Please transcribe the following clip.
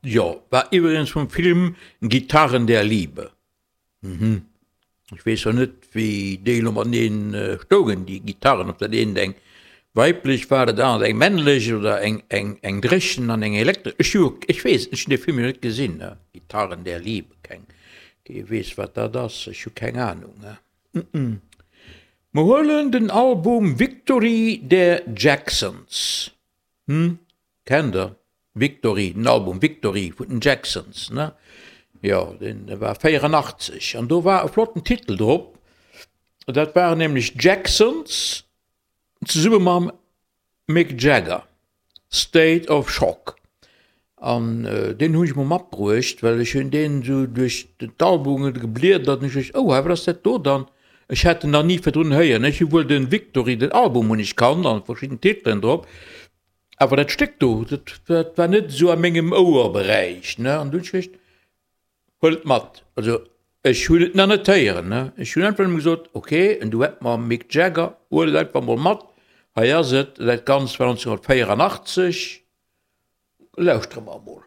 Jo, war iwwregens vum Film Gitarren der Liebe. Mhm. Ech weess zwar net, wéi déi elo mateneen stoungen, déi Gitarren, ob dat eent eng weiblech war, dat anert eng männlech oder eng, eng, eng dréchen an eng elektresch. Ech hu, ech weess et net, ech hunn dee Film jo net gesinn, ne, Gitarren der Liebe, keng, kee weess, wat dat ass, ech hu keng Anung, ne. Mer huelen den Album Victory der Jacksons. Hm, kennt der? Victory, den Album Victory vun den Jacksons, ne? Jo, deen war 84 an do war e flotten Titel drop. Dat waren nämlech d'Jacksons zesumme mam Mick Jagger, State of Shock. An deen hunn ech mol matbruecht, well ech hunn deen esou duerch d'Albumen gebliedert an ech duecht, oh, wat ass dat do dann? Ech hat en nach ni virdrun héieren. Ech hu wuel de Victory, den Album hunn ech kannt an verschidden Titelen drop, awer dat Stéck do, dat, dat war net esou a mengem Ouerberäich, ne. An du hunn ech geduecht, huel et mat. Also ech hunn et nach net héieren, ne. Ech hunn einfach nëmme gesot, ok, en Duett mam Mick Jagger, huel et einfach mol mat, hei ass et. Dat Ganzt war 1984. Lauschtere mer emol.